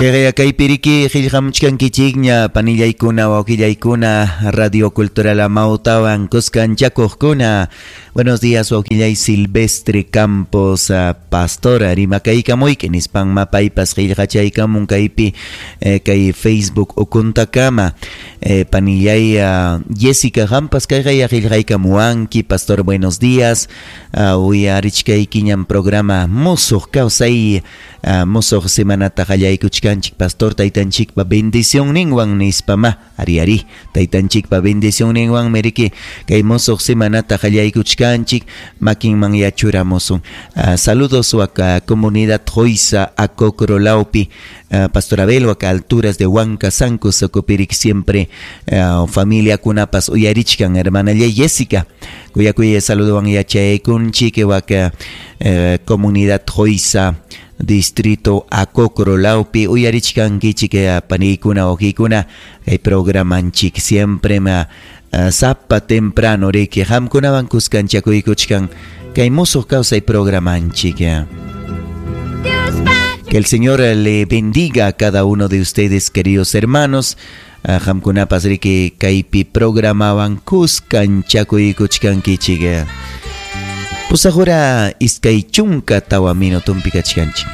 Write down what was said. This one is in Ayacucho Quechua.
Kayqaya kaypi riki qillqamuchkankichikña panillaykuna wawqillaykuna Radio Cultural Amautawan kuskanchakuqkuna. Buenos días wawqillay Silvestre Campos pastor rimakaykamuyki nispanma paypas qillqachaykamun kaypi kay Facebook ukuntakama. Panillay Jessica qampas kayqaya qillqaykamuwanki pastor buenos días uyarichkaykiñam programa Musuq Kawsay Musuq semanata qallaykuchkanchik pastor taytanchikpa bendicionninwan nispamá. Ari ari, taytanchikpa bendicionninwanmi riki kay musuq semanata qallaykuchkanchik makinman yachuramusun. Saludos wak comunidad Joisa Acocro lawpi Pastor Abel wak alturas de Huanca Sanco Socopirik siempre familiakunapas uyarichkan hermanallay Jessica. Kuyakuy saludowan yachaykunchik wak comunidad Joisa distrito Acocro lawpi uyarichkankichik paniykuna wawqiykuna kay programanchik siempre ma sapa temprano riki qamkunawan kuskanchakuykuchkan kay musuq kawsay programanchik. Que el Señor le bendiga a cada uno de ustedes, queridos hermanos. Qamkunapas riki kaypi programawan kuskanchakuykuchkankichik. Pusaq hora 24 minutonpi kachkanchik.